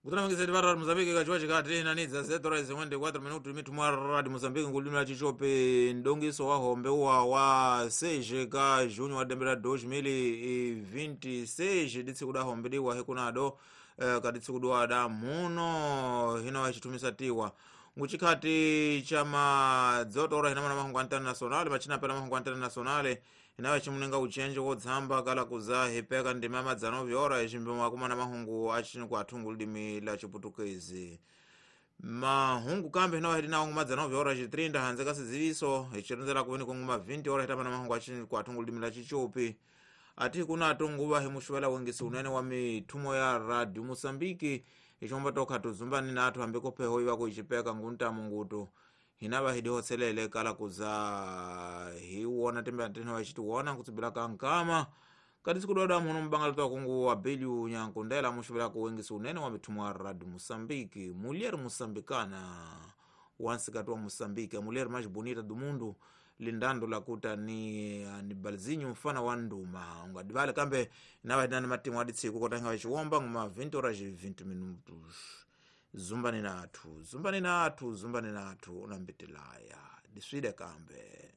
Kutanamangisa tipata radi Mozambique kachiwa chikati nanidza 7:54 minuto mitumwa radi Mozambique ngulimi la chichope ndongiso wa hombe uwa wa 6 ka junho wa dembera 2026 ditsiku da hombe diwa hikunado kaditsiku diwa da muno hino achitumisa tiwa nguchikhati cha madzotora hinamana mahungu internationale machina pela mahungu internationale inawe chimunenga uchenje wodzamba kala kuza hipeka ndima madzano vyora ichimbimo akumana mahungu achini kuathungu lidimi la chiputukezi mahungu kambe hinawe hidinawo ngumadzano vyora chitrinda hanze kasiziviso ichironzera kuveni kunguma 20 ora hitamana mahungu achini kuathungu lidimi la chichopi ati kuna atonguva himuxuvela wengisi unene wa mithumo ya radio Moçambique ichomba tokha tuzumbani nathu hambi kopheho ivako ichipeka nguntamu ngutu hinava hidihotselele kala kuza hiwona tembe antene wachitiwona nkutsibila kankama kati sikudoda muno mbangala twakungu wa biliu nyankundela muxuvela kuwengisi unene wa mithumo ya radio Moçambique mulher moçambicana wansikati wa Moçambique a mulher mais bonita do mundo lindando lakuta ni anibalzinho mfana wa nduma ungadivale kambe navatinani matimu aditsiku kotanga vachiwomba nguma 20 horas 20 minutos zumbani nathu zumbani nathu zumbani nathu unambitilaya diswide kambe.